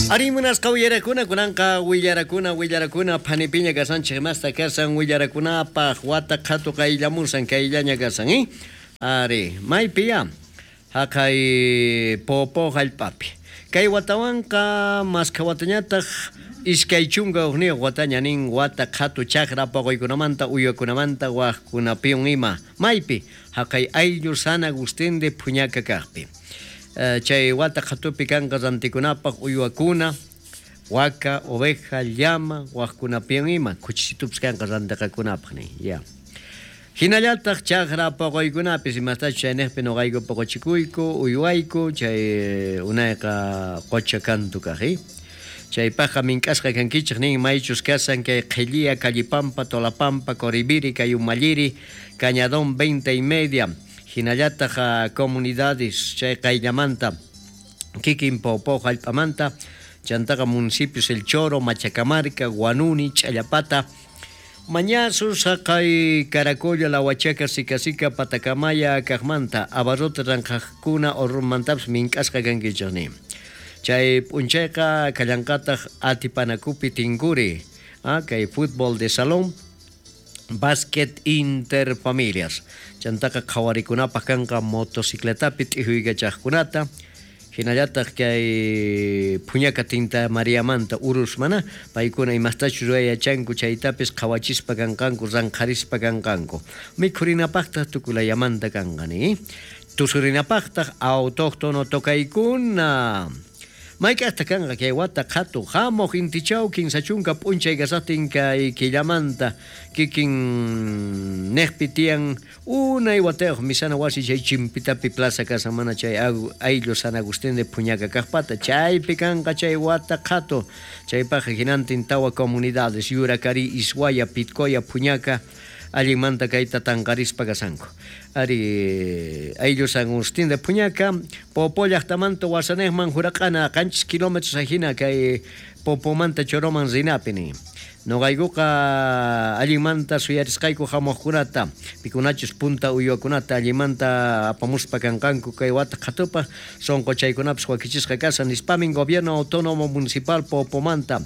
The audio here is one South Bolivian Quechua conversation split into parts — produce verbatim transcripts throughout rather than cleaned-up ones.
Ari munasqa willarakuna kunanqa willarakuna willarakuna phanipiña kasanchik masta kasan willarakunapaq wata qhatu qayllamusan kayllaña kasan eh? Ari maypiya haqay Popo hallp'api kay watawanqa maskha watañataq iskay chunka hukniyuq wataña nin wata qhatu chakra paquykunamanta uywakunamanta waqkunapiwan ima maypi haqay ayllu San Agustín de Phuñaca kaqpi. Chay wata qhatupi kanqa rantikunapaq uywakuna waka, oveja, llama, waqkunapiwan ima kuchisitupis kanqa rantiqakunapaq nin ya. Hinallataq chakra paquykunapis imastachus chayniqpi nuqayku paqachikuyku uywayku chay unayqa qucha kantu kaq eh? Chaypaqqa mink'asqa kankichik nin maychus kasan kay Qhilliya, Callipampa, Tolapampa, Coribiri, kay Umalliri, Cañadón veinte y media. Hinallataq comunidades chay qayllamanta kikin Popo hallp'amanta chantaqa municipios El Choro, Machacamarca, Guanuni, Ch'allapata, Mañasus, haqay Caracollo, La Huachaca, Sicasica, Patacamaya, kaqmanta, Abarrote ranqaqkuna Orrunmantapis mink'asqa kankichik nin. Chay p'unchayqa kallanqataq Atipanakupi Tinkuri, ah, kay fútbol de salón, básquet interfamilias. Chantaqa qhawarikunapaq kanqa motocicletapi t'ijuykachaqkunata, hinallataq kay Phuñaca Tinta Mariamanta urus mana, paykuna imastachus ruwayachanku chaytapis qhawachispa kanqanku, ranqharispa kanqanku. Mikhurinapaqtaq tukulayamanta kanqa ni. Tusurinapaqtaq autóctono tokaykuna. Mayk'aqta kanqa kay wata qhatu hamuq intichaw kinsa chunka p'unchay kasaqtin kay killamanta kikin niqpi tiyan unay watayuq misana wasi chay Chimpitapi plaza kasan mana chay ayllu San Agustín de Phuñaca kaqpata chaypi kanqa chay wata qhatu chaypaqqa hinantin tawa comunidades Yuracari, Ishuaya, Pitcoya, Phuñaca allinmanta kayta tanqarispa kasanku. Ari ayllu San Agustín de Phuñaca, Popo llaqtamanta wasanejman juraq'ana qanchis kilómetros ajina kay Popomanta Choroman rinapi nin. Noqaykuqa allinmanta suyarisqayku hamuqkunata, pikunachus punta uywakunata allinmanta apamuspa kanqanku kay wata qhatupaq sunquchaykunapis wakichisqa kasan nispamin Gobierno Autónomo Municipal Popomanta.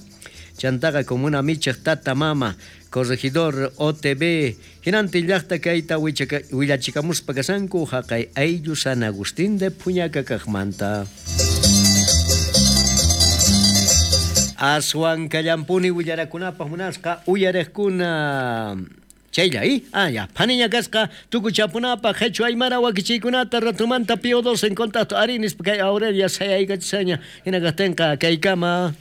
Chantaqa comuna michaq tata mama, corregidor O T B, hinantin llaqta kayta willachikamuspa kasanku haqay ayllu San Agustín de Phuñaca kaqmanta. Aswan kallampuni willarakunapaq munasqa uyariqkuna. Chaylla, ¿eh? Ah, ya. Phaniña kasqa tukuchapunapaq qhichwa aymara wakichiykunata ratumanta Pío dos en contacto. Arinis kay Aurelia sayaykachishaña. Hina kaqtinqa kaykama.